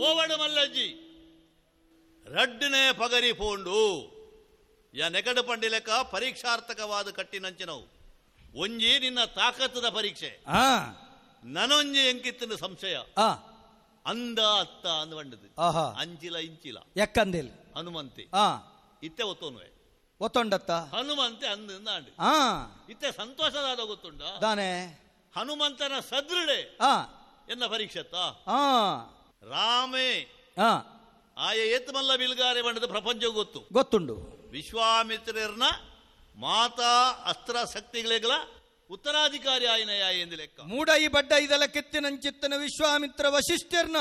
ಪೋವಡು ಮಲ್ಲಜ್ಜಿ ರಡ್ಡನೆ ಪಗರಿ ಪೋಂಡು ಯಾ ನೆಗಡು ಪಂಡಿಲೆಕ್ಕ ಪರೀಕ್ಷಾರ್ಥಕವಾದ ಕಟ್ಟಿನಂಚಿನವು ಒಂಜಿ ನಿನ್ನ ತಾಕತ್ತದ ಪರೀಕ್ಷೆ ನನೊಂಜಿ ಎಂಕಿತ್ತಿನ ಸಂಶಯ ಅಂದ ಅತ್ತ ಅಂದ ಬಂಡದು ಅಂಚಿಲ ಇಂಚಿಲ ಎಕ್ಕಂದಿಲ್ ಹನುಮಂತೆ ಇತ್ತೆ ಒತ್ತೋನುವೆ ಒತ್ತೊಂಡತ್ತ ಹನುಮಂತೆ ಅಂದ ಇತ್ತೆ ಸಂತೋಷದಾದ ಗೊತ್ತುಂಡ ದಾನೆ ಹನುಮಂತನ ಸದೃಢೆ ಎನ್ನ ಪರೀಕ್ಷೆತ್ತ ರಾಮೇ ಆಯ ಏತ್ಮಲ್ಲ ಬಿಲ್ಗಾರೆ ಬಂಡದ ಪ್ರಪಂಚ ಗೊತ್ತು ಗೊತ್ತುಂಡು. ವಿಶ್ವಾಮಿತ್ರರ್ನ ಮಾತಾ ಅಸ್ತ್ರ ಶಕ್ತಿಗಳಿಗಳ ಉತ್ತರಾಧಿಕಾರಿ ಆಯ್ನ ಎಂದು ಲೆಕ್ಕ. ಮೂಡೈ ಬಡ್ಡ ಇದೆಲ್ಲ ಕೆತ್ತಿನಂಚಿತ್ತನ ವಿಶ್ವಾಮಿತ್ರ ವಶಿಷ್ಠರ್ನ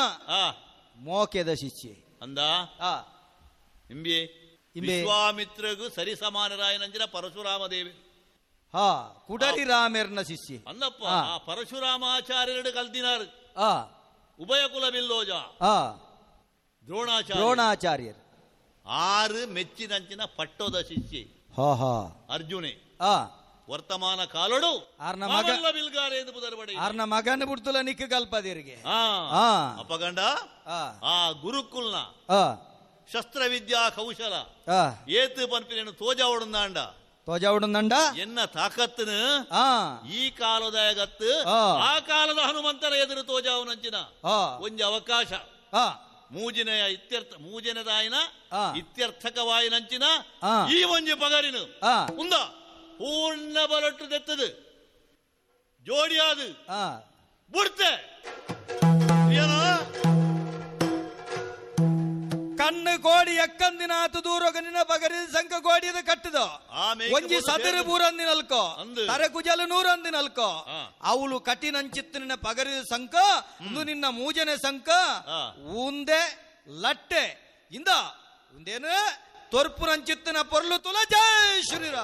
ಮೋಕೆದ ಶಿಷ್ಯೆ ಅಂದ ಇಂಬೆ ವಿಶ್ವಾಮಿತ್ರಗೂ ಸರಿ ಸಮಾನರಾಯನಂಚಿನ ಪರಶುರಾಮ ದೇವಿ ಹಾ ಕುಡರಿ ರಾಮೇರ್ನ ಶಿಷ್ಯೆ ಅಂದಪ್ಪ. ಆ ಪರಶುರಾಮಾಚಾರ್ಯರು ಕಲ್ತಿನಾರು ಉಭಯ ಕುಲ ಬಿಲ್ಲೋಜ ದ್ರೋಣಾಚಾರ್ಯರು ಆರು ಮೆಚ್ಚಿನಂಚಿನ ಪಟ್ಟೋದ ಶಿಷ್ಯೆ ಅರ್ಜುನೆ ವರ್ತಮಾನ ಕಾಲಡು ಆರ್ನ ಮಗನ ಬಿಡ್ತುಲ ನಿಕ್ಕ ಕಲ್ಪದಿರಿಗೆ ಅಪಗಂಡ ಆ ಗುರುಕುಲ್ನ ಶಸ್ತ್ರವಿದ್ಯಾ ಕೌಶಲ ಏತು ಪನ್ಪಿನೇನು ತೋಜಾವಡುಂದಾಂಡ ತೋಜಾವಡುಂದಂಡ ಎನ್ನ ತಾಕತ್ತನು ಈ ಕಾಲದ ಗತ್ತು ಆ ಕಾಲದ ಹನುಮಂತನ ಎದುರು ತೋಜಾವನಂಚಿನ ಒಂಜಿ ಅವಕಾಶ ಮೂಜಿನೆಯ ಇತ್ಯರ್ಥ ಮೂಜಿನದಾಯಿನ ಇತ್ಯರ್ಥಕವಾಯಿನಂಚಿನ ಈ ಒಂಜಿ ಪಗರಿನು ಉಂದ ಪೂರ್ಣ ಬಲಟ್ಟು ದೆತ್ತದು ಜೋಡಿಯಾದು ಬುಡ್ತೆ ಕಣ್ಣು ಕೋಡಿ ಎಕ್ಕಂದಿನಾತು ದೂರಗ ನಿನ್ನ ಪಗರಿ ಸಂಕ ಕೋಡಿದ ಕಟ್ಟದ ಒಂಜಿ ಸದರಿ ಬೂರಂದಿನಲ್ಕೋ ತರೆ ಕುಜಲು ನೂರಂದಿನಲ್ಕೋ ಅವಳು ಕಠಿಣಂಚಿತ್ತು ನಿನ್ನ ಪಗರಿದ ಸಂಕ ಇಂದು ನಿನ್ನ ಮೂಜನೆ ಸಂಕ ಉಂದೆ ಲಟ್ಟೆ ಇಂದ ಉಂದೇನು ತೊರ್ಪುರಂಚಿತ್ತಿನ ಪೊರ್ಲು ತುಲ ಜೈ ಶ್ರೀರಾಮ್.